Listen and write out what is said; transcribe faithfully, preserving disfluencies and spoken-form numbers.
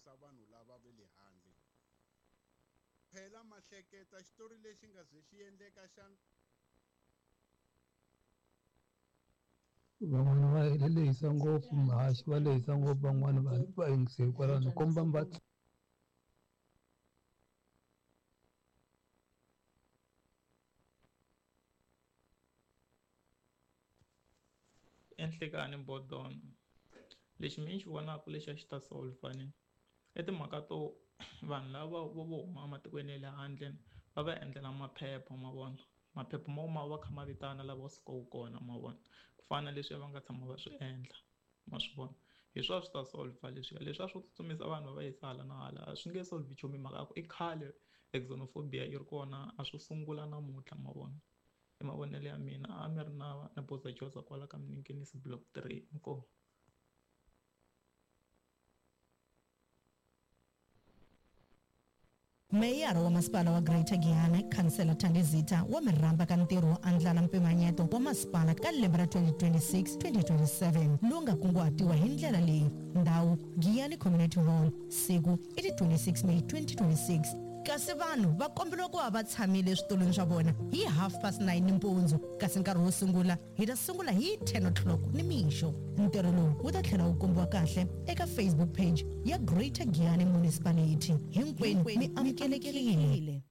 hlongorisa vanhu lava va le handle. Phela ma hleketa xitori lexi nga ze xi endleka xana? Van'wana va lehisa ngopfu muhaxi va lehisa ngopfu van'wana va va yingiseli kwalano ni komba mi va Enhlekani Bodon lexi mina ni xi vonaka lexi a xi ta solver ni i timhaka to vanhu lava vo vo huma ematikweni ya le handle va va endlela maphepha ma vona maphepha mo ma va kha ma vitana lava sukaka kona ma vona ku fana na leswiya va nga tshama va swi endla ma swi vona hi swona swi ta solver leswiya leswiya swo tsutsumisa vanhu va va yisa hala na hala a swi nge solve nchumu hi mhaka ya ku i khale xenophobia yi ri kona a swo sungula namuntlha ma vona i mavonelo ya mina a mi ri na na Boza Joza kwala ka Miningisi block three inkomu. Meyara wa masipala wa Greater Giyani, Khansela Thandi Zitha wa mi rhamba ka ntirho wo andlala mpimanyeto wa masipala ka lembe ra twenty twenty-six twenty twenty-seven lowu nga kunguhatiwa hi ndlela leyi: ndhawu Giyani Community Hall, siku i ti twenty-six May twenty twenty-six, kasi vanhu va komberiwa ku va va tshamile eswitulwini swa vona hi half past nine nimpundzu, kasi nkarhi wo sungula hi ta sungula hi ten o'clock nimixo. Ntirho lowu wu ta tlhela wu kombiwa kahle eka Facebook page ya Greater Giyani Municipality. Hinkwenu mi amukelekile.